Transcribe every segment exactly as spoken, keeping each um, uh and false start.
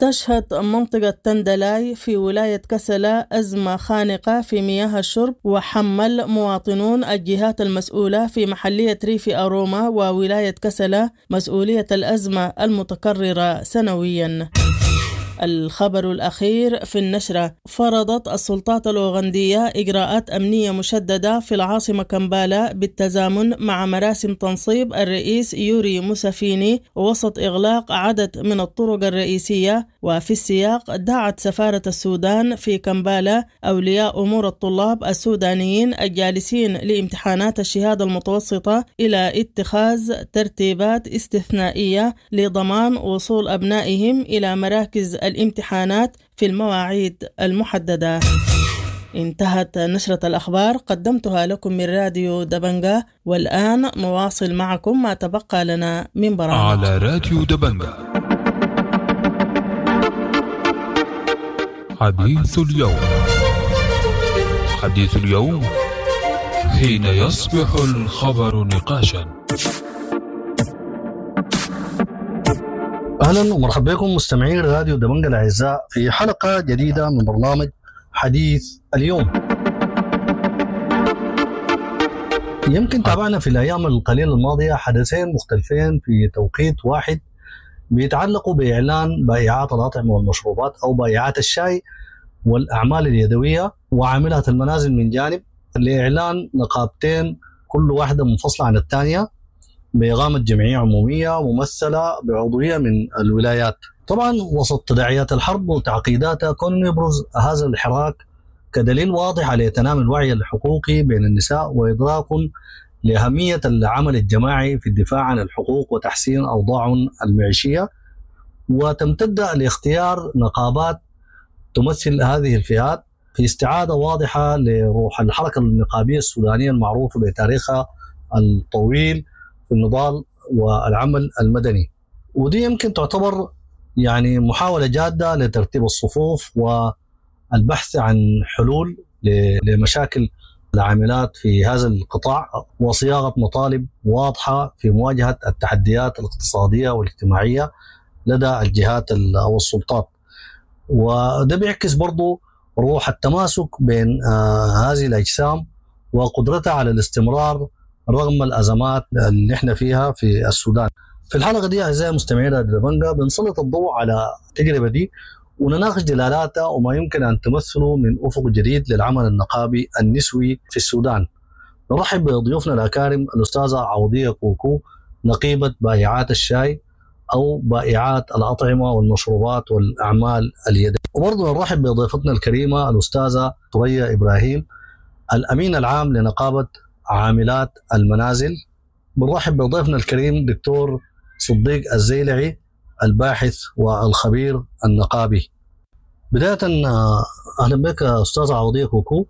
تشهد منطقة تندلاي في ولاية كسلا أزمة خانقة في مياه الشرب، وحمل مواطنون الجهات المسؤولة في محلية ريف أروما وولاية كسلا مسؤولية الأزمة المتكررة سنويا. الخبر الأخير في النشرة: فرضت السلطات الأوغندية إجراءات أمنية مشددة في العاصمة كمبالا بالتزامن مع مراسم تنصيب الرئيس يوري موسافيني وسط إغلاق عدد من الطرق الرئيسية. وفي السياق دعت سفارة السودان في كمبالا أولياء أمور الطلاب السودانيين الجالسين لامتحانات الشهادة المتوسطة إلى اتخاذ ترتيبات استثنائية لضمان وصول أبنائهم إلى مراكز الامتحانات في المواعيد المحددة. انتهت نشرة الأخبار، قدمتها لكم من راديو دبنجا، والآن نواصل معكم ما تبقى لنا من برامج على راديو دبنجا. حديث اليوم، حديث اليوم حين يصبح الخبر نقاشا. اهلا ومرحبا بكم مستمعين راديو دبنجا الاعزاء في حلقة جديدة من برنامج حديث اليوم. يمكن تابعنا في الايام القليلة الماضية حدثين مختلفين في توقيت واحد بيتعلقوا باعلان بائعات الاطعمة والمشروبات او بائعات الشاي والاعمال اليدوية وعاملات المنازل من جانب، لاعلان نقابتين كل واحدة منفصلة عن الثانية بإقامة جمعية عمومية ممثلة بعضوية من الولايات. طبعا وسط تداعيات الحرب وتعقيداتها، كون يبرز هذا الحراك كدليل واضح على تنامي الوعي الحقوقي بين النساء وإدراك لأهمية العمل الجماعي في الدفاع عن الحقوق وتحسين أوضاعهم المعيشية، وتمتد لاختيار نقابات تمثل هذه الفئات في استعادة واضحة لروح الحركة النقابية السودانية المعروفة بتاريخها الطويل في النضال والعمل المدني. ودي يمكن تعتبر يعني محاولة جادة لترتيب الصفوف والبحث عن حلول لمشاكل العاملات في هذا القطاع وصياغة مطالب واضحة في مواجهة التحديات الاقتصادية والاجتماعية لدى الجهات أو السلطات. وده بيعكس برضو روح التماسك بين آه هذه الأجسام وقدرتها على الاستمرار رغم الأزمات اللي احنا فيها في السودان. في الحلقة دي أعزائي المستمعين راديو دبنجا بنسلط الضوء على التجربة دي ونناقش دلالاتها وما يمكن أن تمثله من أفق جديد للعمل النقابي النسوي في السودان. نرحب بضيوفنا الأكارم الأستاذة عوضية كوكو، نقيبة بائعات الشاي أو بائعات الأطعمة والمشروبات والأعمال اليدوية. وبرضه نرحب بضيفتنا الكريمة الأستاذة ثريا إبراهيم، الأمين العام لنقابة عاملات المنازل. بنرحب بضيفنا الكريم دكتور صديق الزيلعي، الباحث والخبير النقابي. بداية أهلا بك أستاذ عوضية كوكو،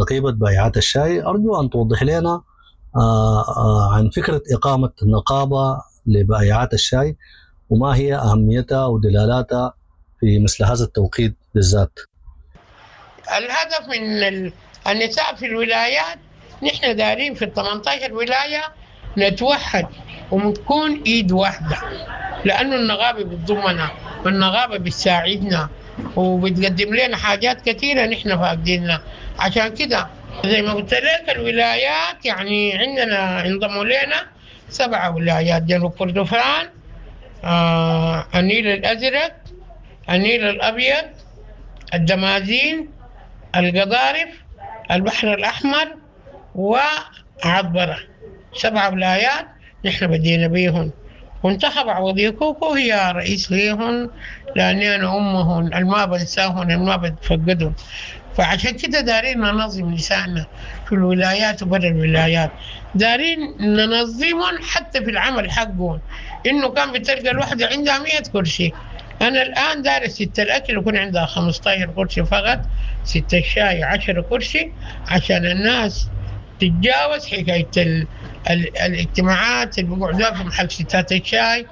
نقيبة بائعات الشاي. أرجو أن توضح لنا عن فكرة إقامة نقابة لبائعات الشاي وما هي أهميتها ودلالاتها في مثل هذا التوقيت بالذات. الهدف من النساء في الولايات، نحن دارين في ثمانية عشر ولاية نتوحد ونكون ايد واحدة، لأنه النقابة بتضمنا والنقابة بتساعدنا وبتقدم لنا حاجات كثيرة نحن فاقدينها. عشان كده زي ما قلت لك الولايات يعني عندنا انضموا لنا سبعة ولايات: جنوب كردفان، آه، النيل الأزرق، النيل الأبيض، الدمازين، القضارف، البحر الأحمر، وعبرة. سبع ولايات نحن بدينا بيهن، وانتخب عوضية كوكو هي رئيس ليهن، لأني أنا أمهن الما بنساهن الما بتفقدهن. فعشان كده دارين ننظم نسائنا في الولايات وبرا الولايات، دارين ننظمهم حتى في العمل حقهم. إنه كان بتلقى الوحدة عندها مية كرسي، أنا الآن دارس ست الأكل يكون عندها خمسة عشر كرسي فقط، ست الشاي عشرة كرسي، عشان الناس تتجاوز حكاية ال ال الاجتماعات اللي بيقعدوها في محل ستات الشاي،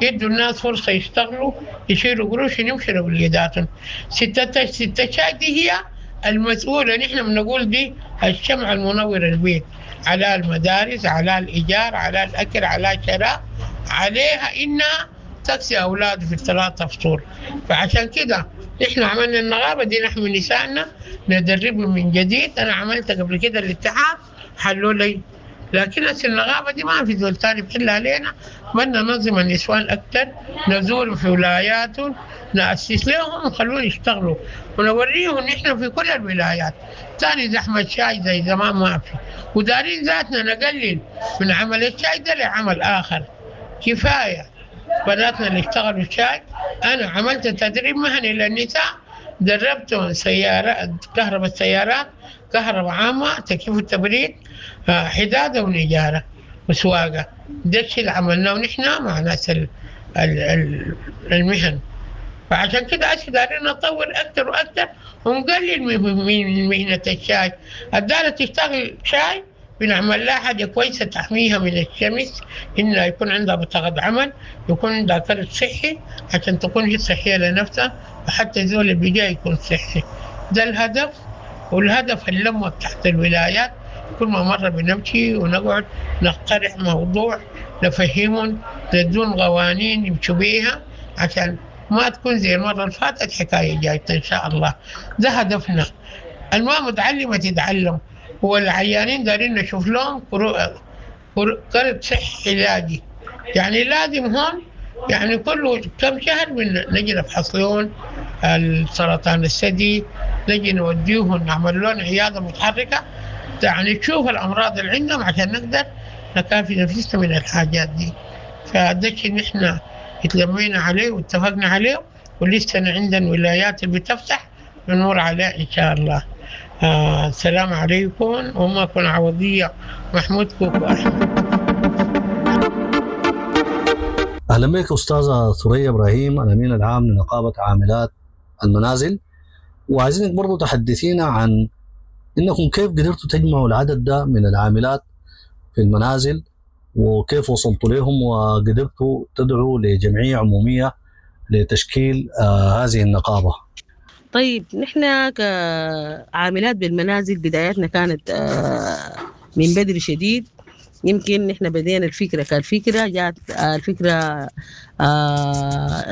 يدوا الناس فرصة يشتغلوا يشيلوا قروش يمشوا لوليداتهم. ستات ست الشاي دي هي المسؤولة، نحن بنقول دي الشمع المنور البيت، على المدارس، على الإيجار، على الأكل، على الشراء، عليها إنها تكسي أولاده في الثلاثة فطور. فعشان كده نحن عملنا النغابة دي، نحن نسائنا ندربهم من جديد. أنا عملت قبل كده الاتحاد حلوا لي، لكن هسه النغابة دي ما في زول تاني بحلها علينا. بدنا ننظم النسوان أكتر، نزورهم في ولاياتهم، نأسس لهم ونخلوهم يشتغلوا ونوريهم نحن في كل الولايات. تاني زحمة شاي زي زمان ما في، ودارين ذاتنا نقلل من عمل الشاي ده لعمل آخر. كفاية بناتنا اللي اشتغلوا الشاي. أنا عملت تدريب مهني للنساء، دربتهم سيارات، كهرباء السيارات، كهرباء عامة، تكييف التبريد، حدادة ونجارة وسواقة. ده الشيء اللي عملناه نحن مع ناس ال ال المهن. فعشان كده هسه دايرين نطور أكتر وأكتر ونقلل من مهنة الشاي. الدارة تشتغل شاي بنعمل لها حاجة كويسة تحميها من الشمس، إنها يكون عندها بطاقة عمل، يكون عندها كرت صحي عشان تكون هي صحية لنفسها، وحتى الزول اللي بيجي يكون صحي. ده الهدف، والهدف اللمة تحت الولايات. كل ما مرة بنمشي ونقعد نقترح موضوع، نفهمهم، ندون قوانين يمشوا بيها عشان ما تكون زي المرة اللي فاتت حكاية جاية إن شاء الله. ده هدفنا. الما متعلمة تتعلم، والعيانين دارين نشوف لهم كرت صحي علاجي. يعني لازم هون يعني كل كم شهر نجي نفحص لهم السرطان الثدي، نجي نوديهم نعمل لهم عيادة متحركة، يعني نشوف الأمراض اللي عندهم عشان نقدر نكافي نفسنا من الحاجات دي. فده الشيء نحن اتلمينا عليه واتفقنا عليه، ولسه عندنا ولايات اللي بتفتح بنور عليه إن شاء الله. آه السلام عليكم. وما كن عوضية محمود كوكو أحمد. أهلا بك أستاذة ثريا إبراهيم، الأمين العام لنقابة عاملات المنازل، وعايزينك برضو تحدثينا عن إنكم كيف قدرتوا تجمعوا العدد ده من العاملات في المنازل، وكيف وصلتوا لهم وقدرتوا تدعوا لجمعية عمومية لتشكيل آه هذه النقابة. طيب، نحن كعاملات بالمنازل بدايتنا كانت من بدري شديد. يمكن نحن بدينا الفكرة كالفكرة جات الفكرة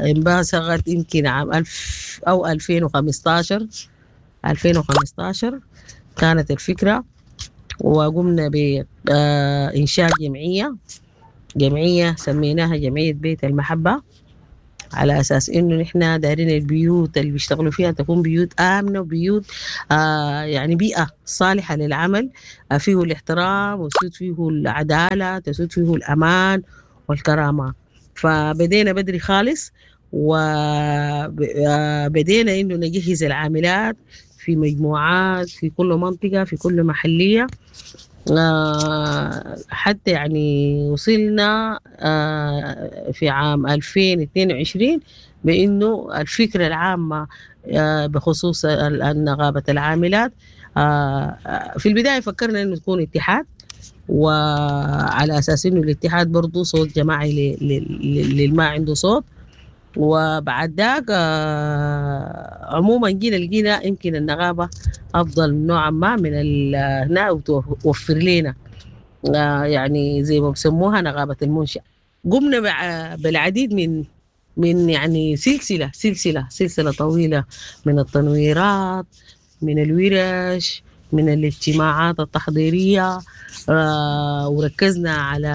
انبثقت يمكن عام ألف أو ألفين وخمستاشر ألفين وخمستاشر كانت الفكرة، وقمنا بإنشاء جمعية جمعية سميناها جمعية بيت المحبة، على أساس إنه نحن دارين البيوت اللي بيشتغلوا فيها تكون بيوت آمنة، وبيوت آه يعني بيئة صالحة للعمل، آه فيه الاحترام وتسود فيه العدالة، تسود فيه الأمان والكرامة. فبدينا بدري خالص، وبدينا إنه نجهز العاملات في مجموعات في كل منطقة في كل محلية، حتى يعني وصلنا في عام ألفين واثنين وعشرين بأنه الفكرة العامة بخصوص نقابة العاملات. في البداية فكرنا أنه تكون اتحاد، وعلى أساس أنه الاتحاد برضو صوت جماعي للما عنده صوت. وبعد ذاك عموما جينا لقينا يمكن النقابة أفضل نوعا ما من هنا، وتوفر لنا يعني زي ما بسموها نقابة المنشأ. قمنا بالعديد من من يعني سلسلة سلسلة سلسلة طويلة من التنويرات، من الورش، من الاجتماعات التحضيرية، وركزنا على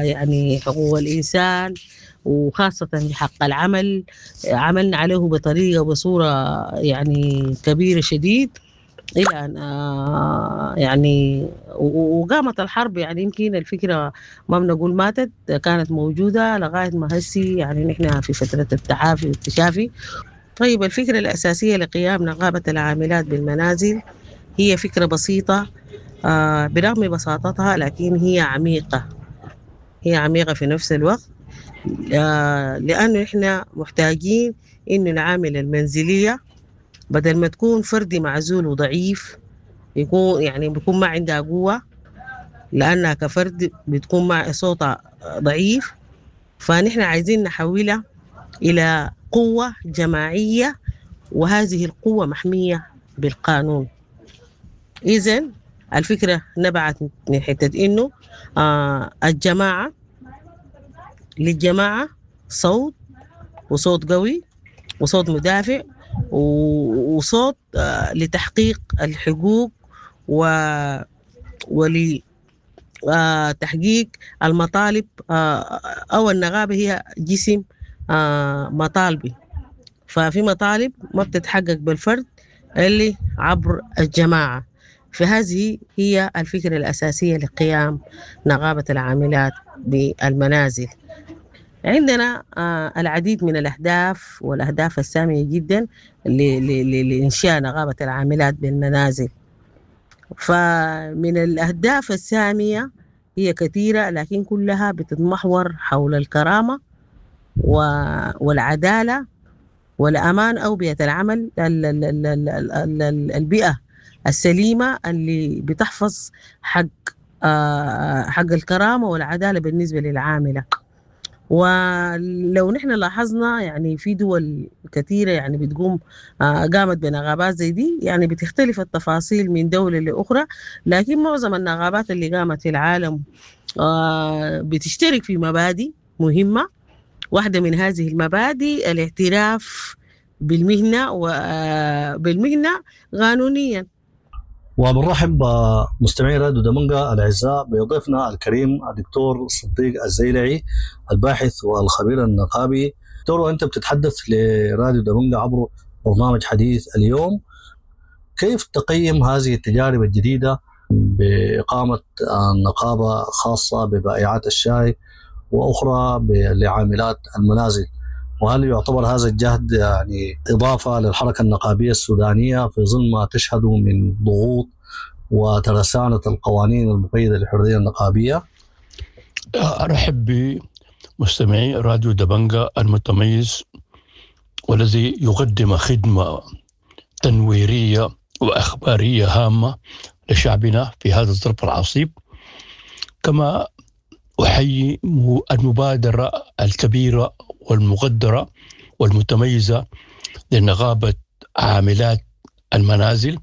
يعني حقوق الإنسان وخاصة بحق العمل. عملنا عليه بطريقة وبصورة يعني كبيرة شديد إلى أن يعني وقامت الحرب. يعني يمكن الفكرة ما بنقول ماتت، كانت موجودة لغاية ما هسي يعني نحن في فترة التعافي والتشافي. طيب، الفكرة الأساسية لقيام نقابة العاملات بالمنازل هي فكرة بسيطة، برغم بساطتها لكن هي عميقة، هي عميقة في نفس الوقت، لأنه إحنا محتاجين إنه العامل المنزلية بدل ما تكون فردي معزول وضعيف، يكون يعني بيكون ما عندها قوة، لأنها كفرد بتكون مع صوتها ضعيف. فنحن عايزين نحولها إلى قوة جماعية، وهذه القوة محمية بالقانون. إذن الفكرة نبعت من حتة إنه آه الجماعة للجماعة صوت، وصوت قوي، وصوت مدافع، وصوت لتحقيق الحقوق و ولتحقيق المطالب. أو النغابة هي جسم مطالبي، ففي مطالب ما بتتحقق بالفرد اللي عبر الجماعة. فهذه هي الفكرة الأساسية لقيام نغابة العاملات بالمنازل. عندنا العديد من الأهداف والأهداف السامية جدا لإنشاء نغابة العاملات بالمنازل. فمن الأهداف السامية هي كثيرة، لكن كلها بتتمحور حول الكرامة والعدالة والأمان أو بيئة العمل، البيئة السليمة اللي بتحفظ حق حق الكرامة والعدالة بالنسبة للعاملة. ولو نحن لاحظنا يعني في دول كثيرة يعني بتقوم قامت بنغابات زي دي، يعني بتختلف التفاصيل من دولة لأخرى، لكن معظم النغابات اللي قامت في العالم بتشترك في مبادئ مهمة. واحدة من هذه المبادئ الاعتراف بالمهنة وبالمهنة قانونيا. وبنرحب بمستمعي راديو دمنجة الأعزاء بضيفنا الكريم الدكتور صديق الزيلعي الباحث والخبير النقابي. دكتور، وأنت بتتحدث لراديو دمنجة عبر برنامج حديث اليوم، كيف تقيم هذه التجارب الجديدة بإقامة نقابة خاصة ببائعات الشاي وأخرى لعاملات المنازل؟ وهل يعتبر هذا الجهد يعني إضافة للحركة النقابية السودانية في ظل ما تشهده من ضغوط وترسانة القوانين المقيدة للحرية النقابية؟ أرحب بمستمعي راديو دبنجة المتميز والذي يقدم خدمة تنويرية وأخبارية هامة لشعبنا في هذا الظرف العصيب. كما أحيي المبادرة الكبيرة والمقدرة والمتميزة لنقابة عاملات المنازل،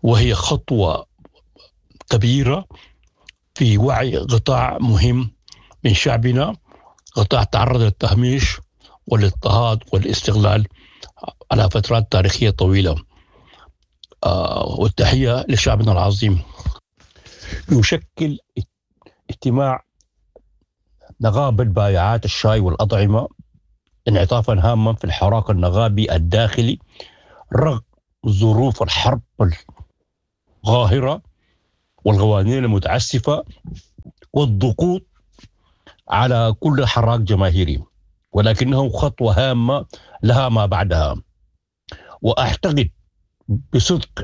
وهي خطوة كبيرة في وعي قطاع مهم من شعبنا، قطاع تعرض للتهميش والاضطهاد والاستغلال على فترات تاريخية طويلة. والتحية لشعبنا العظيم. يشكل اجتماع نقابة بائعات الشاي والأطعمة انعطافا هاما في الحراك النغابي الداخلي رغم ظروف الحرب القاهرة والقوانين المتعسفة والضغوط على كل حراك جماهيري، ولكنه خطوة هامة لها ما بعدها. وأعتقد بصدق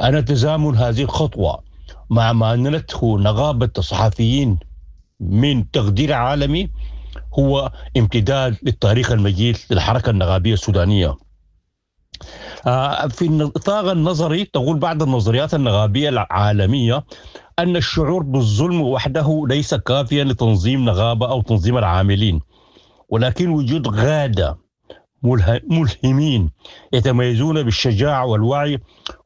أن تزامن هذه الخطوة مع ما نالته نقابة الصحفيين من تقدير عالمي هو امتداد للتاريخ المجيد للحركة النغابية السودانية. في النطاق النظري تقول بعض النظريات النغابية العالمية أن الشعور بالظلم وحده ليس كافيا لتنظيم نغابة أو تنظيم العاملين، ولكن وجود غادة ملهمين يتميزون بالشجاعة والوعي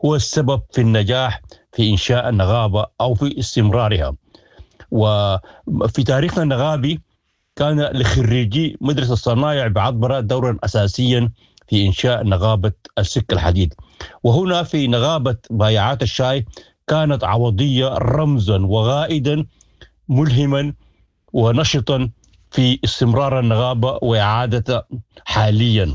هو السبب في النجاح في إنشاء النغابة أو في استمرارها. وفي تاريخنا النغابي كان لخريجي مدرسة الصنايع بعطبرة دورا أساسيا في إنشاء نغابة السك الحديد، وهنا في نغابة بائعات الشاي كانت عوضية رمزا وغائدا ملهما ونشطا في استمرار النغابة وإعادة حاليا.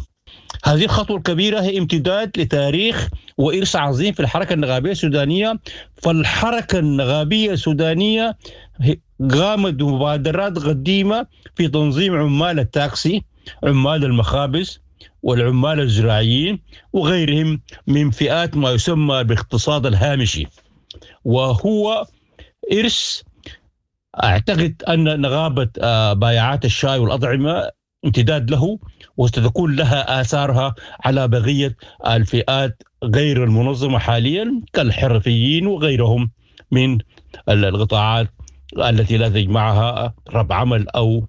هذه الخطوة الكبيرة هي امتداد لتاريخ وإرث عظيم في الحركة النغابية السودانية. فالحركة النغابية السودانية قامت بمبادرات قديمة في تنظيم عمال التاكسي، عمال المخابز، والعمال الزراعيين وغيرهم من فئات ما يسمى بالاقتصاد الهامشي، وهو إرث أعتقد أن نغابة بائعات الشاي والأطعمة امتداد له، وستكون لها آثارها على بقية الفئات غير المنظمة حاليا كالحرفيين وغيرهم من القطاعات التي لا تجمعها رب عمل أو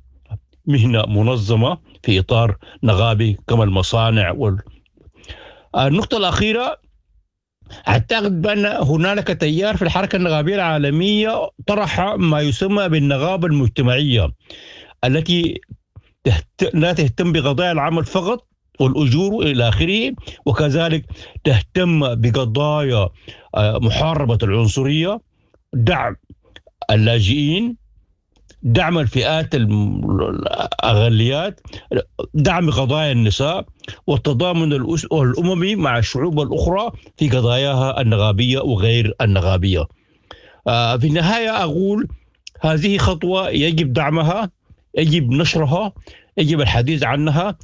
مهنة منظمة في إطار نغابي كما المصانع. وال... النقطة الأخيرة، أعتقد بأن هنالك تيار في الحركة النغابية العالمية طرح ما يسمى بالنغابة المجتمعية التي تهت... لا تهتم بقضايا العمل فقط والأجور إلى آخره، وكذلك تهتم بقضايا محاربة العنصرية، دعم اللاجئين، دعم الفئات الأقليات، دعم قضايا النساء، والتضامن الأممي مع الشعوب الأخرى في قضاياها النغابية وغير النغابية. في النهاية أقول هذه خطوة يجب دعمها، يجب نشرها، يجب الحديث عنها،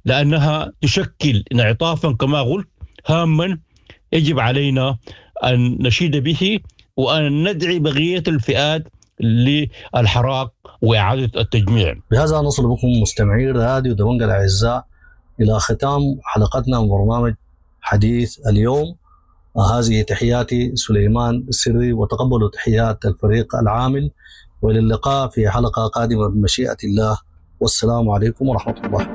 لأنها تشكل انعطافا كما قلت هاما يجب علينا أن نشيد به وأن ندعي بقية الفئات للحراك وإعادة التجميع. بهذا نصل بكم مستمعي راديو دبنقا الأعزاء إلى ختام حلقتنا من برنامج حديث اليوم. هذه تحياتي سليمان السري، وتقبلوا تحيات الفريق العامل، والى اللقاء في حلقة قادمة بمشيئة الله، والسلام عليكم ورحمة الله.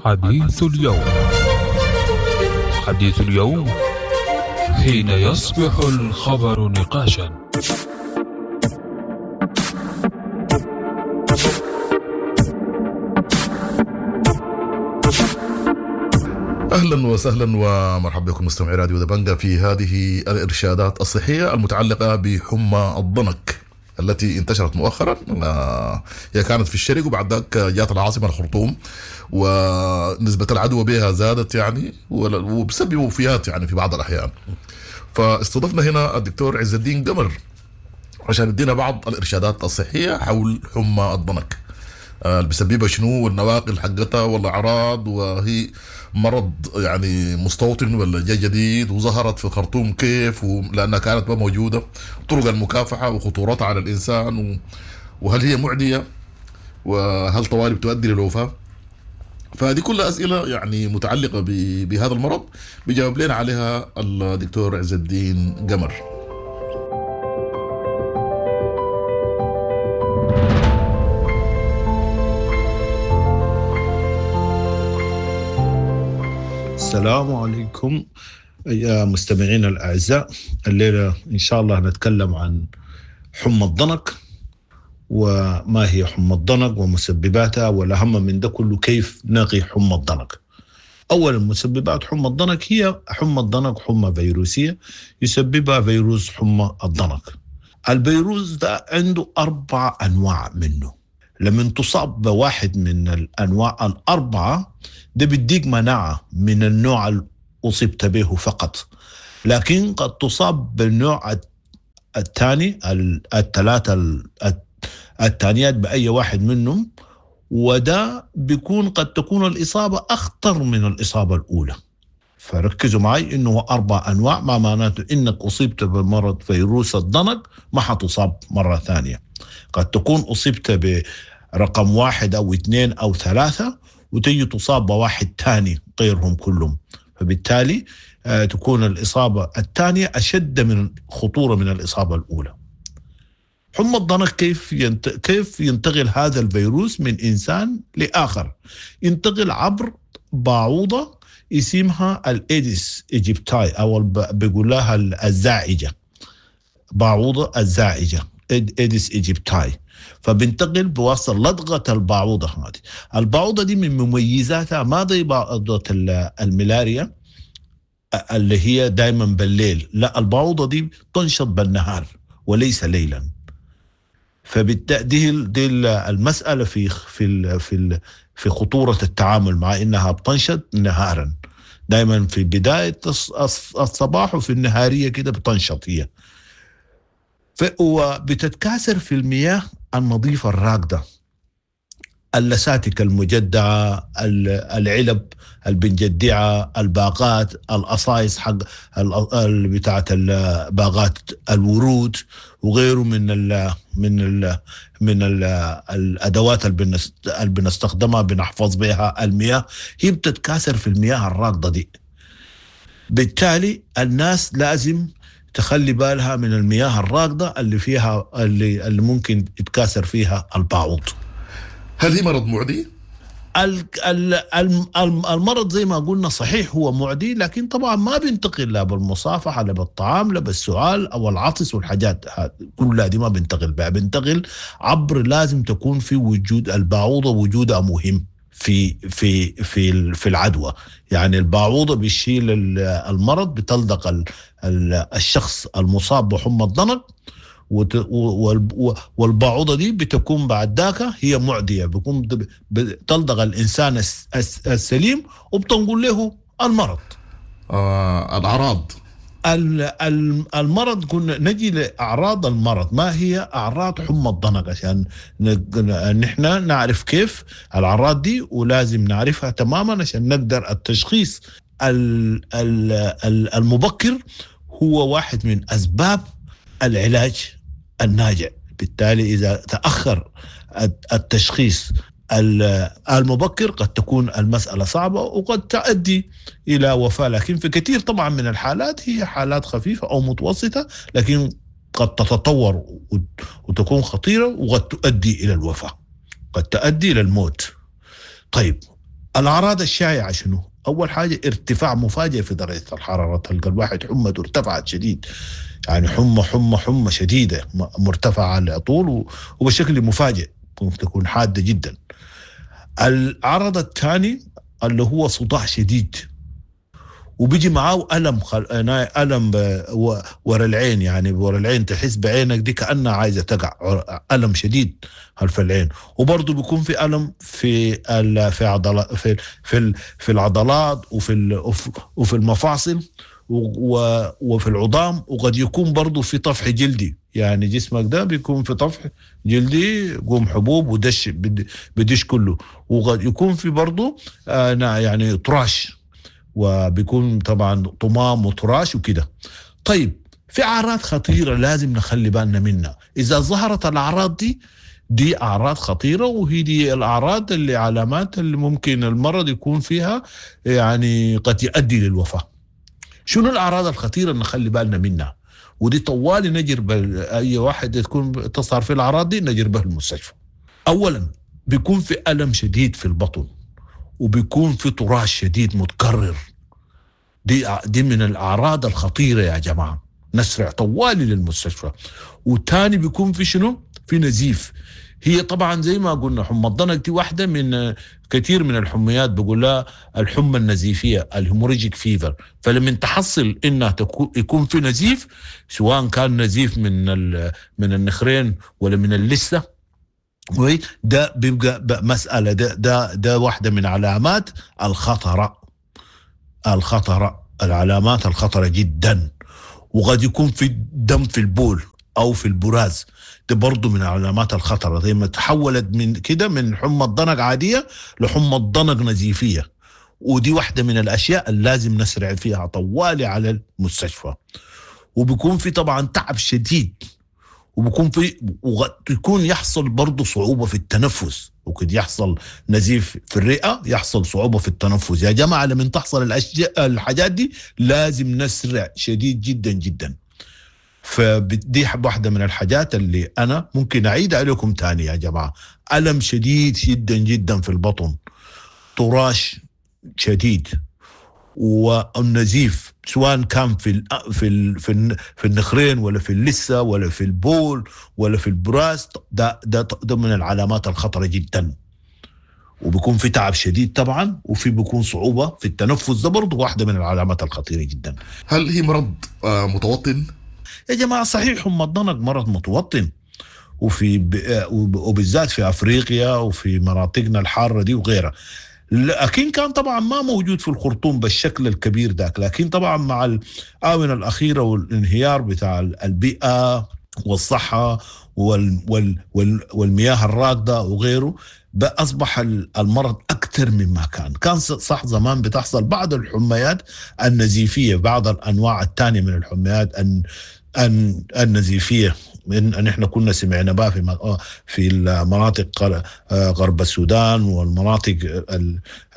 حديث اليوم، حديث اليوم حين يصبح الخبر نقاشا. اهلا وسهلا ومرحبا بكم مستمعي راديو دبنجا في هذه الارشادات الصحيه المتعلقه بحمى الضنك التي انتشرت مؤخرا. هي كانت في الشرق وبعد ذاك جات العاصمه الخرطوم، ونسبه العدوى بها زادت يعني وبسبب وفيات يعني في بعض الاحيان. فاستضفنا هنا الدكتور عز الدين قمر عشان يدينا بعض الارشادات الصحيه حول حمى الضنك، اللي بيسببها شنو والنواقل حقتها والاعراض، وهي مرض يعني مستوطن ولا جاي جديد، وظهرت في الخرطوم كيف لانها كانت ما موجوده، طرق المكافحه وخطورتها على الانسان و... وهل هي معديه وهل طوالي بتؤدي للوفاه. فهذه كلها اسئله يعني متعلقه ب... بهذا المرض بيجاوب لنا عليها الدكتور عز الدين قمر. السلام عليكم يا مستمعين الأعزاء. الليلة إن شاء الله نتكلم عن حمى الضنك، وما هي حمى الضنك ومسبباتها، والأهم من ده كله كيف نقي حمى الضنك. أولا، مسببات حمى الضنك هي حمى الضنك حمى فيروسية يسببها فيروس حمى الضنك. الفيروس ده عنده أربع أنواع منه، لما تصاب بواحد من الأنواع الأربعة ده بيديك مناعة من النوع اللي أصبت به فقط، لكن قد تصاب بالنوع الثاني، الثلاثة الثانيات بأي واحد منهم، وده بيكون قد تكون الإصابة أخطر من الإصابة الأولى. فركزوا معي إنه أربع أنواع، ما معناته إنك أصبت بمرض فيروس الضنك ما حتصاب مرة ثانية. قد تكون أصبت برقم واحد أو اثنين أو ثلاثة وتجي تصاب بواحد ثاني غيرهم كلهم، فبالتالي تكون الإصابة الثانية أشد من خطورة من الإصابة الأولى. حمى الضنك كيف ينت... كيف ينتقل هذا الفيروس من إنسان لآخر؟ ينتقل عبر بعوضة اسمها ال Aedes aegypti، أو بيقول لها الزاعجة، بعوضة الزاعجة Aedes aegypti. فبنتقل بواسطة لدغة البعوضة هذه. البعوضة دي من مميزاتها ما زي بعوضة الملاريا اللي هي دايما بالليل، لا، البعوضة دي تنشط بالنهار وليس ليلا. فبالتالي دي المسألة في في في في خطورة التعامل مع إنها بتنشط نهارا، دايما في بداية الصباح وفي النهارية كده بتنشط هي، وبتتكاثر في المياه النظيفة الراكدة، اللساتك المجدعة، العلب البنجدعة، الباقات، القصايص حق بتاعة باقات الورود وغيره من ال من ال من ال الأدوات اللي بنستخدمها بنحفظ بها المياه، هي بتتكاثر في المياه الراكدة دي. بالتالي الناس لازم تخلي بالها من المياه الراكدة اللي فيها اللي, اللي ممكن يتكاثر فيها البعوض. هل هي مرض معدي؟ المرض زي ما قلنا صحيح هو معدي، لكن طبعا ما بينتقل لا بالمصافحة لا بالطعام لا بالسؤال أو العطس والحاجات كلها دي ما بينتقل بها، بينتقل عبر لازم تكون في وجود البعوضة، وجودها مهم في في في في العدوى. يعني البعوضة بيشيل المرض، بتلدق الشخص المصاب بحمى الضنك، والبعوضة دي بتكون بعد ذاك هي معدية، بيكون بتلدغ الإنسان السليم وبتنقل له المرض. آه الأعراض المرض كنا نجي لأعراض المرض. ما هي أعراض حمى الضنك عشان نحن نعرف كيف الأعراض دي، ولازم نعرفها تماما عشان نقدر التشخيص المبكر هو واحد من أسباب العلاج الناجع. بالتالي إذا تأخر التشخيص المبكر قد تكون المسألة صعبة وقد تؤدي إلى وفاة، لكن في كثير طبعا من الحالات هي حالات خفيفة أو متوسطة، لكن قد تتطور وتكون خطيرة وقد تؤدي إلى الوفاة، قد تؤدي إلى الموت. طيب الأعراض الشائعة شنو؟ أول حاجة ارتفاع مفاجئ في درجة الحرارة، تلقى الواحد حمته ارتفعت شديد، يعني حمى حمى حمى شديدة مرتفعة على طول وبشكل مفاجئ، ممكن تكون حادة جدا. العرض الثاني اللي هو صداع شديد، وبيجي معاه ألم خل... ألم ورا العين، يعني ورا العين تحس بعينك دي كأنها عايزة تقع، ألم شديد خلف العين. وبرضه بيكون في ألم في ال... في عضلات في في في العضلات وفي ال... وفي المفاصل و... وفي العظام، وقد يكون برضه في طفح جلدي، يعني جسمك ده بيكون في طفح جلدي، قوم حبوب ودش بدش كله، وقد يكون في برضه آه يعني طراش، وبيكون طبعا طمام وطراش وكده. طيب في أعراض خطيرة لازم نخلي بالنا منها، إذا ظهرت الأعراض دي دي أعراض خطيرة، وهي دي الأعراض اللي علامات اللي ممكن المرض يكون فيها يعني قد يؤدي للوفاة. شنو الأعراض الخطيرة اللي نخلي بالنا منها؟ ودي طوالي نجر أي واحد تكون تظهر في الأعراض دي نجر به المستشفى. أولا بيكون في ألم شديد في البطن، وبيكون في طراش شديد متكرر، دي دي من الأعراض الخطيرة يا جماعة، نسرع طوالي للمستشفى. وتاني بيكون في شنو؟ في نزيف. هي طبعا زي ما قلنا حمى الضنك دي واحدة من كثير من الحميات، بقول لها الحمى النزيفية ال hemorrhagic fever. فلما تحصل انها يكون في نزيف، سواء كان نزيف من من النخرين ولا من اللثة، ده بيبقى مسألة، ده ده ده واحدة من علامات الخطرة، الخطرة العلامات الخطرة جدا. وقد يكون في دم في البول أو في البراز، ده برضو من علامات الخطرة. زي ما تحولت من كده من حمى الضنك عادية لحمى الضنك نزيفية، ودي واحدة من الأشياء اللي لازم نسرع فيها طوالي على المستشفى. وبيكون في طبعا تعب شديد، وبيكون في ويكون يحصل برضو صعوبة في التنفس، وقد يحصل نزيف في الرئة، يحصل صعوبة في التنفس. يا جماعة لما تحصل الأشياء الحاجات دي لازم نسرع شديد جدا جدا. فدي واحدة من الحاجات اللي أنا ممكن أعيد عليكم تاني يا جماعة. ألم شديد جدا جدا في البطن، طراش شديد، والنزيف سواء كان في ال في ال في, ال في النخرين ولا في اللثة ولا في البول ولا في البراز، ده ده ده من العلامات الخطرة جدا. وبيكون في تعب شديد طبعا، وفي بيكون صعوبة في التنفس، ده برضه واحدة من العلامات الخطيرة جدا. هل هي مرض متوطن؟ يا جماعة صحيح حمى الضنك مرض متوطن، وفي وبالذات في أفريقيا وفي مناطقنا الحارة دي وغيرها، لكن كان طبعا ما موجود في الخرطوم بالشكل الكبير ذاك. لكن طبعا مع الآونة الأخيرة والانهيار بتاع البيئة والصحة وال وال وال والمياه الراكدة وغيره، أصبح المرض أكثر مما كان. كان صح زمان بتحصل بعض الحميات النزيفية، بعض الأنواع الثانية من الحميات النزيفية، من نحن كنا سمعنا بها في في المناطق غرب السودان والمناطق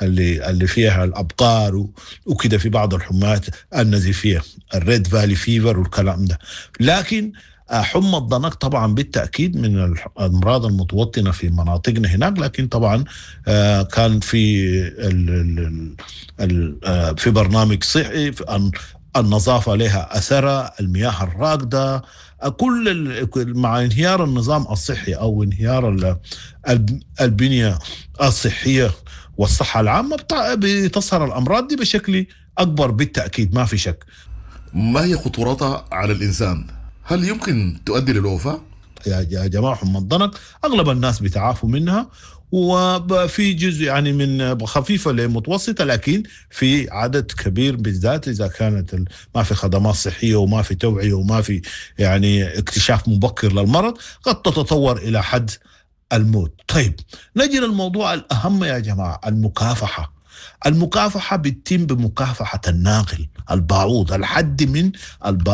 اللي اللي فيها الابقار وكده، في بعض الحميات النزيفيه ال Red Valley fever والكلام ده. لكن حمى الضنك طبعا بالتأكيد من الأمراض المتوطنة في مناطقنا هناك، لكن طبعا كان في ال ال ال في برنامج صحي، النظافة لها أثرها، المياه الراكدة، كل مع انهيار النظام الصحي أو انهيار البنية الصحية والصحة العامة بتظهر الأمراض دي بشكل أكبر بالتأكيد، ما في شك. ما هي خطورتها على الإنسان؟ هل يمكن تؤدي للوفاة؟ يا جماعة حمى الضنك أغلب الناس بيتعافوا منها، وفي جزء يعني من خفيفة لمتوسطة، لكن في عدد كبير بالذات إذا كانت ما في خدمات صحية وما في توعية وما في يعني اكتشاف مبكر للمرض قد تتطور إلى حد الموت. طيب نجي للموضوع الأهم يا جماعة، المكافحة. المكافحة بتتم بمكافحة الناقل الباعوض، الحد من الب...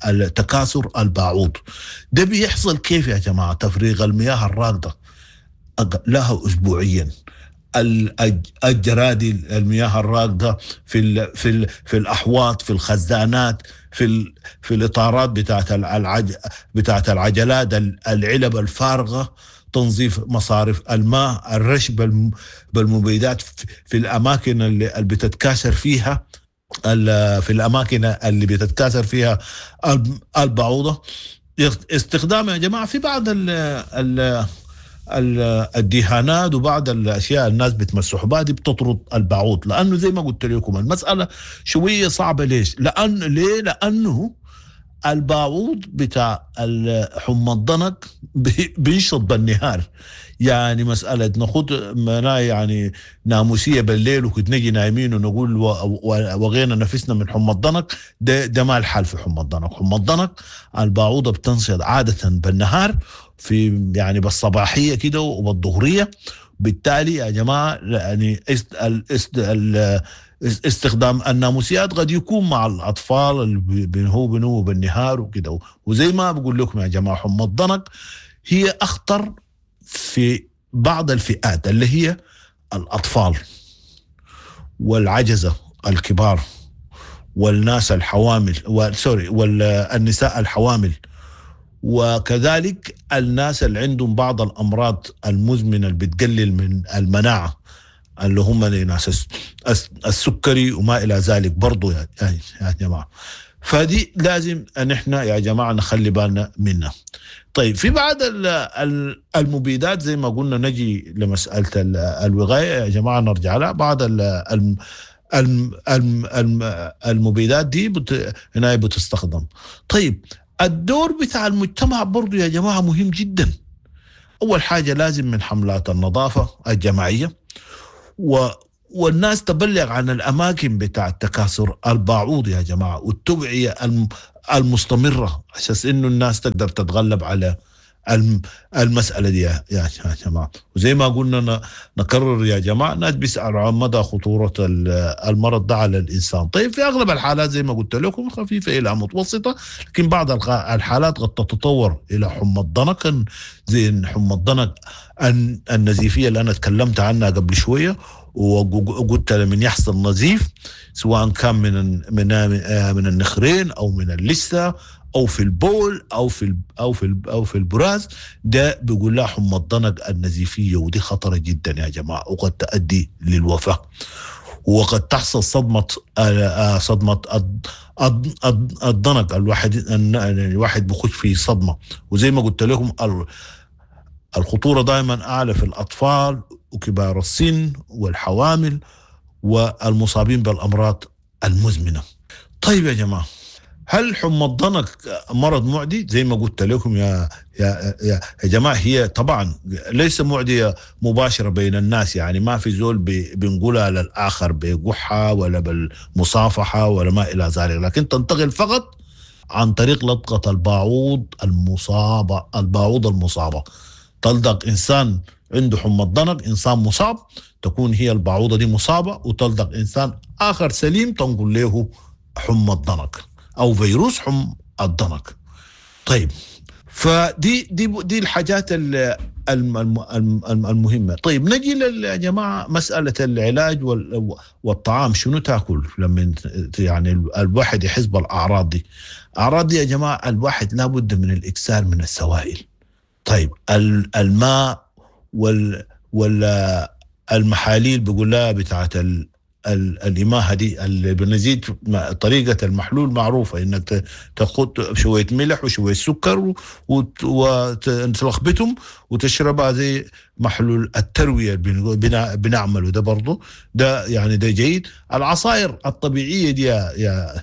التكاثر الباعوض. ده بيحصل كيف يا جماعة؟ تفريغ المياه الراكدة لها أسبوعيا، الجرادي المياه الراكدة في ال... في ال... في الأحواض، في الخزانات، في ال... في الإطارات بتاعت العج... بتاعت العجلات، العلب الفارغة، تنظيف مصارف الماء، الرش بالمبيدات في الأماكن اللي بتتكاثر فيها في الأماكن اللي بتتكاثر فيها البعوضة. استخدام يا جماعة في بعض ال ال الدهانات وبعض الأشياء الناس بتمسح بها دي بتطرد البعوض، لأنه زي ما قلت لكم المسألة شوية صعبة. ليش؟ لأن ليه؟ لأنه الباعوض بتاع حمى الضنك بينشط بالنهار، يعني مسألة ناخد يعني ناموسية بالليل وكنت نجي نايمين ونقول وغينا نفسنا من حمى الضنك، ده, ده ما الحال في حمى الضنك. حمى الضنك الباعوضة بتنشط عادة بالنهار في يعني بالصباحية كده وبالظهرية، بالتالي يا جماعة يعني استخدام الناموسيات قد يكون مع الأطفال اللي بنهو بنو بالنهار وكده. وزي ما بقول لكم يا جماعة حمى الضنك هي أخطر في بعض الفئات اللي هي الأطفال والعجزة الكبار والناس الحوامل سوري والنساء الحوامل، وكذلك الناس اللي عندهم بعض الأمراض المزمنة اللي بتقلل من المناعة اللي هم ناس السكري وما إلى ذلك برضو يا جماعة. فدي لازم أن احنا يا جماعة نخلي بالنا منها. طيب في بعض المبيدات زي ما قلنا نجي لمسألة الوقاية يا جماعة نرجع لها. بعض المبيدات دي هنا بتستخدم. طيب الدور بتاع المجتمع برضو يا جماعة مهم جدا. أول حاجة لازم من حملات النظافة الجماعية و والناس تبلغ عن الأماكن بتاع التكاثر الباعوض يا جماعة، والتوعية المستمرة عشان إنه الناس تقدر تتغلب على المسألة دي يا جماعة. وزي ما قلنا نكرر يا جماعة، الناس بيسألوا عن مدى خطورة المرض ده على الإنسان. طيب في أغلب الحالات زي ما قلت لكم خفيفة إلى متوسطة، لكن بعض الحالات قد تتطور إلى حمى الضنك، زي حمى الضنك النزيفية اللي أنا تكلمت عنها قبل شوية، وقلت لمن يحصل نزيف سواء كان من من من النخرين أو من اللثة او في البول او في او في او في البراز، ده بيقول لها حمى الضنك النزيفيه، ودي خطره جدا يا جماعه وقد تؤدي للوفاه، وقد تحصل صدمه صدمه الضنك. الواحد الواحد بخش في صدمه، وزي ما قلت لكم الخطوره دائما اعلى في الاطفال وكبار السن والحوامل والمصابين بالامراض المزمنه. طيب يا جماعه، هل حمى الضنك مرض معدي؟ زي ما قلت لكم يا يا يا جماعه هي طبعا ليس معديه مباشره بين الناس، يعني ما في زول بنقولها للاخر بقحه ولا بالمصافحه ولا ما الى ذلك، لكن تنتقل فقط عن طريق لدغه الباعوض المصابه. الباعوض المصابه تلدغ انسان عنده حمى الضنك، انسان مصاب، تكون هي الباعوضه دي مصابه، وتلدغ انسان اخر سليم تنقل له حمى الضنك او فيروس حمى الضنك. طيب فدي دي دي الحاجات المهمة. طيب نجي يا جماعة مسالة العلاج والطعام، شنو تاكل لما يعني الواحد يحس بالاعراض دي؟ اعراض دي يا جماعة الواحد لابد من الاكثار من السوائل. طيب الماء وال وال المحاليل بيقول لها بتاعت ال الإماهة دي اللي بنزيد طريقة المحلول معروفة، إنك تاخد شوية ملح وشوية سكر وتلخبطهم وتشربها زي محلول التروية بنعمله ده برضه، ده يعني ده جيد. العصائر الطبيعية دي يا, يا,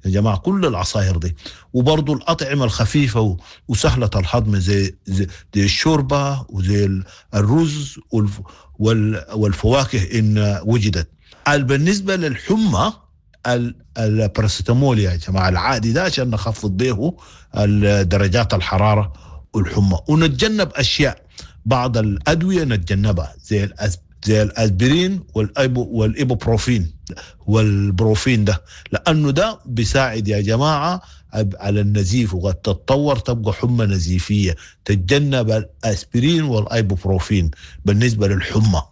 يا جماعة كل العصائر دي، وبرضه الأطعمة الخفيفة وسهلة الهضم زي زي الشوربة وزي الرز والفواكه إن وجدت. بالنسبة للحمى الباراسيتامول يا جماعة العادي ده عشان نخفض به درجات الحرارة والحمى، ونتجنب أشياء بعض الأدوية نتجنبها زي زي الأسبرين والأيبو والإيبوبروفين والبروفين ده، لأنه ده بيساعد يا جماعة على النزيف وقد تتطور تبقى حمى نزيفية. تتجنب الأسبرين والأيبوبروفين بالنسبة للحمى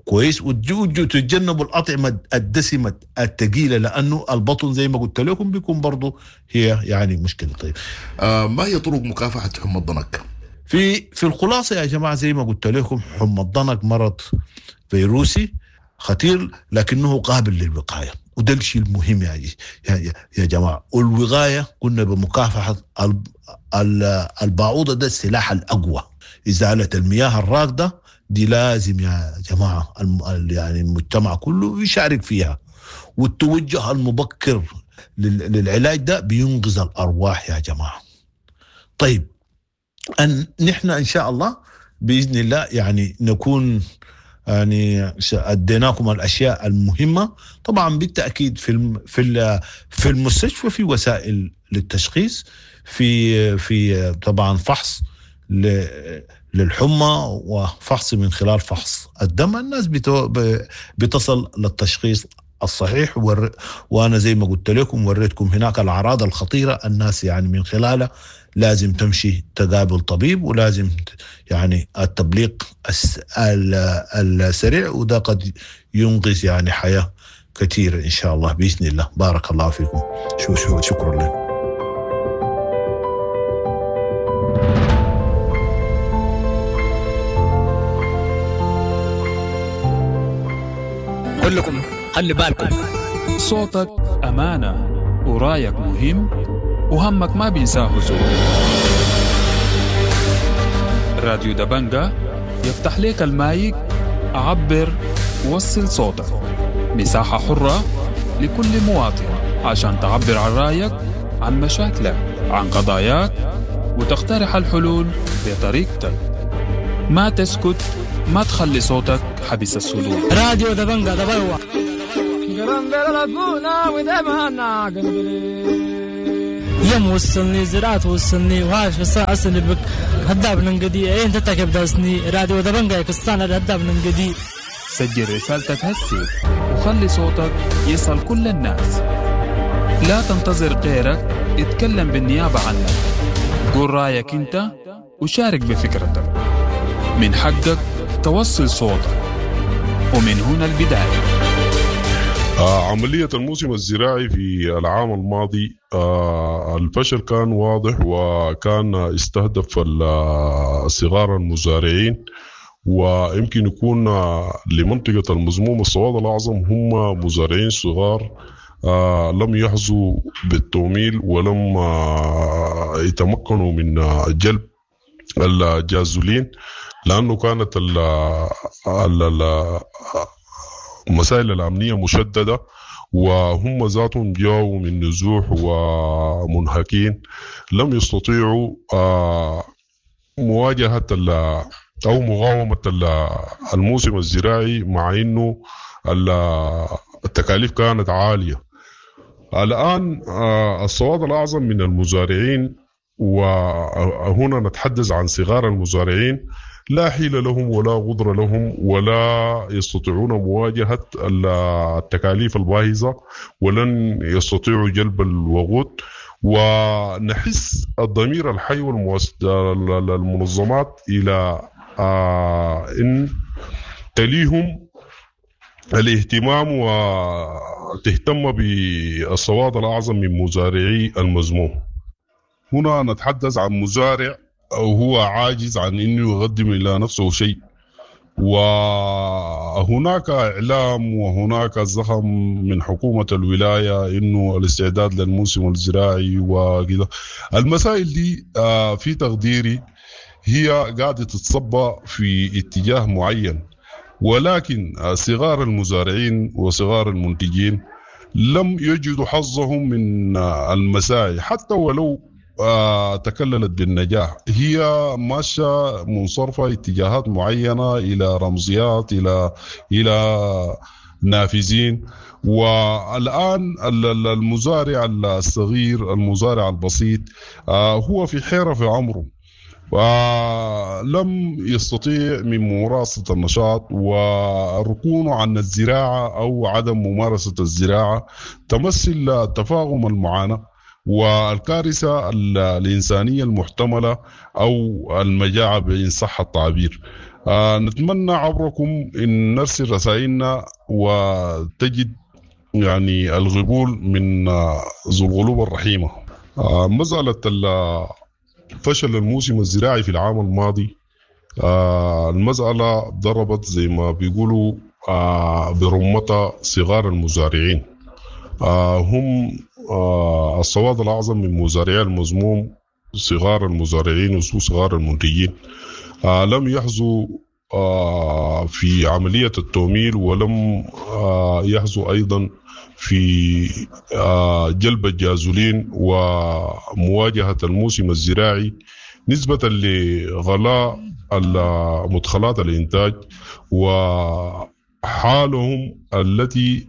كويس، وتتجنبوا الأطعمة الدسمة الثقيلة لأنه البطن زي ما قلت لكم بيكون برضو هي يعني مشكلة. طيب آه ما هي طرق مكافحة حمى الضنك؟ في في الخلاصة يا جماعة زي ما قلت لكم حمى الضنك مرض فيروسي خطير لكنه قابل للوقاية، وده الشيء المهم يا يا يا جماعة. والوقاية قلنا بمكافحة البعوضة، ده السلاح الأقوى. إزالة المياه الراكدة دي لازم يا جماعة يعني المجتمع كله يشارك فيها، والتوجه المبكر للعلاج ده بينقذ الأرواح يا جماعة. طيب أن نحن إن شاء الله بإذن الله يعني نكون يعني أديناكم الأشياء المهمة. طبعا بالتأكيد في في في المستشفى في وسائل للتشخيص، في في طبعا فحص للحمى وفحص من خلال فحص الدم، الناس بتصل للتشخيص الصحيح. ور... وانا زي ما قلت لكم وريتكم هناك الاعراض الخطيرة، الناس يعني من خلالها لازم تمشي تقابل طبيب، ولازم يعني التبليغ الس... السريع، وده قد ينقذ يعني حياة كثيرة ان شاء الله باذن الله. بارك الله فيكم، شو شو شكرا لكم. كلكم خلي بالكم، صوتك أمانة ورايك مهم وهمك ما بينساه زول. راديو دبنجة يفتح لك المايك، عبر وصل صوتك، مساحة حرة لكل مواطن عشان تعبر عن رأيك، عن مشاكلك، عن قضاياك، وتقترح الحلول بطريقتك. ما تسكت، ما تخلي صوتك حبس الصدور. راديو دبنجة دبلوة. يم وصلني زراعة وصلني وهاش بس بك هداب ننقدي ايه انت تكب داسني راديو دبنجة يكستانا هداب ننقدي. سجل رسالتك هسي وخلي صوتك يصل كل الناس. لا تنتظر غيرك يتكلم بالنيابة عنك. قول رايك انت وشارك بفكرتك. من حقك توصل صوتك، ومن هنا البداية. آه عملية الموسم الزراعي في العام الماضي آه الفشل كان واضح، وكان استهدف صغار المزارعين، ويمكن يكون لمنطقة المزموم السواد الأعظم هم مزارعين صغار آه لم يحظوا بالتمويل ولم آه يتمكنوا من جلب الجازولين، لأنه كانت ال ال المسائل الأمنية مشددة، وهم ذاتهم جاءوا من نزوح ومنهكين لم يستطيعوا مواجهة أو مقاومة الموسم الزراعي، مع أنه التكاليف كانت عالية. الآن السواد الأعظم من المزارعين، وهنا نتحدث عن صغار المزارعين، لا حيلة لهم ولا قدرة لهم ولا يستطيعون مواجهة التكاليف الباهظة، ولن يستطيعوا جلب الوقود، ونحس الضمير الحي والمنظمات إلى آه إن تليهم الاهتمام وتهتم بالسواد الأعظم من مزارعي المزموم. هنا نتحدث عن مزارع هو عاجز عن أنه يقدم إلى نفسه شيء، وهناك إعلام وهناك زخم من حكومة الولاية إنه الاستعداد للموسم الزراعي وكذا. المسائل دي في تقديري هي قاعدة تتصبى في اتجاه معين، ولكن صغار المزارعين وصغار المنتجين لم يجدوا حظهم من المساعي حتى ولو تكللت بالنجاح. هي ماشية منصرفة اتجاهات معينة إلى رمزيات، إلى إلى نافذين. والآن المزارع الصغير، المزارع البسيط، هو في حيرة في عمره، ولم يستطيع من ممارسة النشاط والركون عن الزراعة أو عدم ممارسة الزراعة تمثل تفاقم المعاناة والكارثة الإنسانية المحتملة أو المجاعة بإن صح التعبير. نتمنى عبركم إن نرسل رسائلنا وتجد يعني القبول من ذو القلوب الرحيمة. مسألة فشل الموسم الزراعي في العام الماضي، المسألة ضربت زي ما بيقولوا برمتها صغار المزارعين، هم السواد الأعظم من مزارعي المزموم صغار المزارعين وصغار المنتجين، لم يحظوا في عملية التوميل، ولم يحظوا أيضا في جلب الجازولين ومواجهة الموسم الزراعي نسبة لغلاء مدخلات الإنتاج وحالهم التي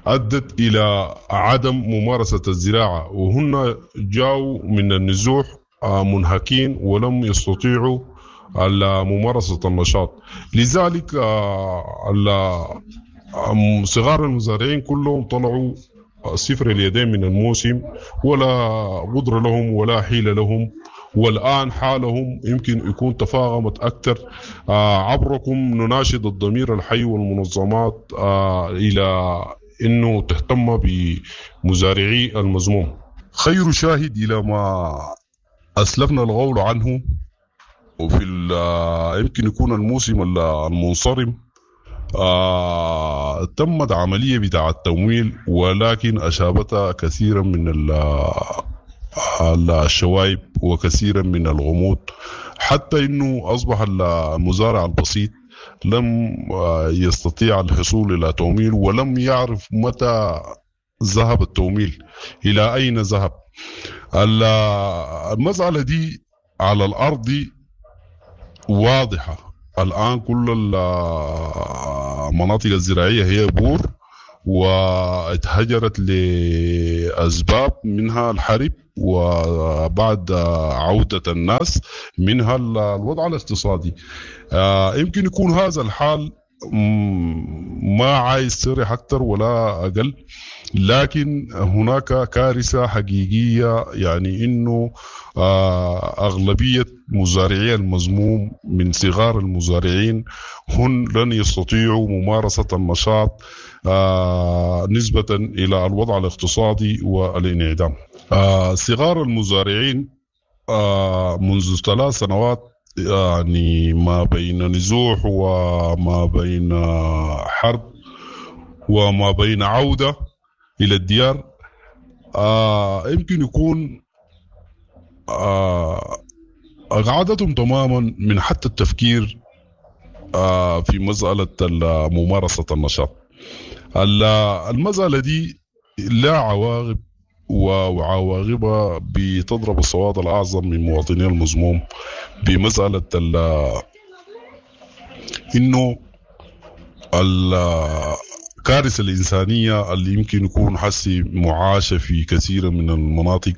أدت إلى عدم ممارسة الزراعة، وهن جاءوا من النزوح منهكين ولم يستطيعوا ممارسة النشاط. لذلك صغار المزارعين كلهم طلعوا صفر اليدين من الموسم، ولا قدرة لهم ولا حيلة لهم، والآن حالهم يمكن يكون تفاقمت أكثر. عبركم نناشد الضمير الحي والمنظمات إلى إنه تهتم بمزارعي المزموم. خير شاهد إلى ما أسلفنا القول عنه، وفي يمكن يكون الموسم المنصرم آه، تمت عملية بتاع التمويل، ولكن أشابتها كثيرا من الشوايب وكثيرا من الغموض، حتى إنه أصبح المزارع البسيط لم يستطيع الحصول إلى تمويل، ولم يعرف متى ذهب التمويل، إلى أين ذهب. المسألة دي على الأرض واضحة الآن، كل المناطق الزراعية هي بور واتهجرت لأسباب، منها الحرب وبعد عودة الناس، منها الوضع الاقتصادي. يمكن يكون هذا الحال ما عايز صرح أكثر ولا أقل، لكن هناك كارثة حقيقية، يعني إنه أغلبية مزارعي المزموم من صغار المزارعين هن لن يستطيعوا ممارسة النشاط نسبة إلى الوضع الاقتصادي والانعدام. صغار المزارعين منذ ثلاث سنوات يعني ما بين نزوح وما بين حرب وما بين عودة إلى الديار، آه يمكن يكون آه أقعدتهم تماما من حتى التفكير آه في مسألة ممارسة النشاط. المسألة دي لا عواقب، وعواقبها بتضرب السواد الأعظم من مواطني المزموم بمسألة إنه الكارثة الإنسانية اللي يمكن يكون حسي معاشة في كثير من المناطق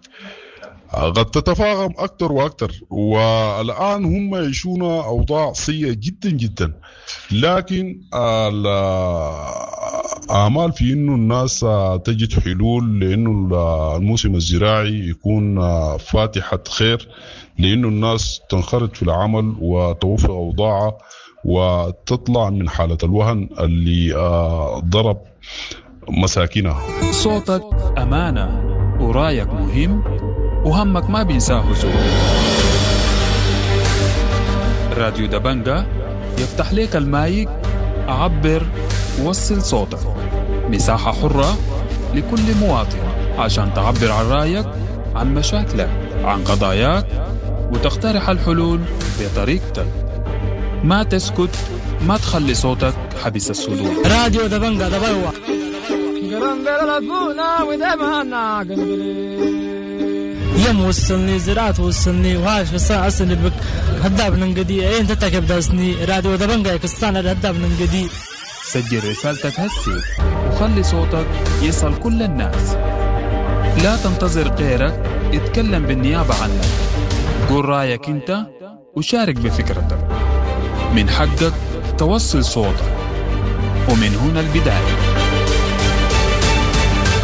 قد تتفاقم أكثر وأكثر، والآن هم يعيشون أوضاع سيئة جدا جدا. لكن آمال في إنه الناس تجد حلول لإنه الموسم الزراعي يكون فاتحة خير، لإنه الناس تنخرط في العمل وتوفر أوضاعها وتطلع من حالة الوهن اللي ضرب مساكنها. صوتك أمانة ورايك مهم وهمك ما بينساه زول. راديو دبنجة يفتح لك المايك، عبر وصل صوتك، مساحة حرة لكل مواطن عشان تعبر عن رأيك، عن مشاكلك، عن قضاياك، وتقترح الحلول بطريقتك. ما تسكت، ما تخلي صوتك حبس الصدور. راديو دبنجة دبلوة. يم وصلني زراعة وصلني وهاش بس أصلي بك هداب ننقدي أين تتكب داسني راديو دبنجة كستانا هداب ننقدي. سجل رسالتك هسي وخلي صوتك يصل كل الناس. لا تنتظر غيرك يتكلم بالنيابة عنك. قول رأيك انت وشارك بفكرتك. من حقك توصل صوتك، ومن هنا البداية.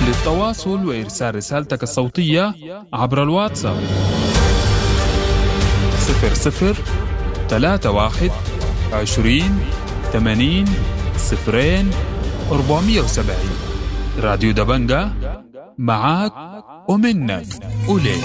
للتواصل وإرسال رسالتك الصوتية عبر الواتساب صفر صفر ثلاثة واحد عشرين ثمانين صفرين أربعمية وسبعين. راديو دبنجة معاك ومنك وليك.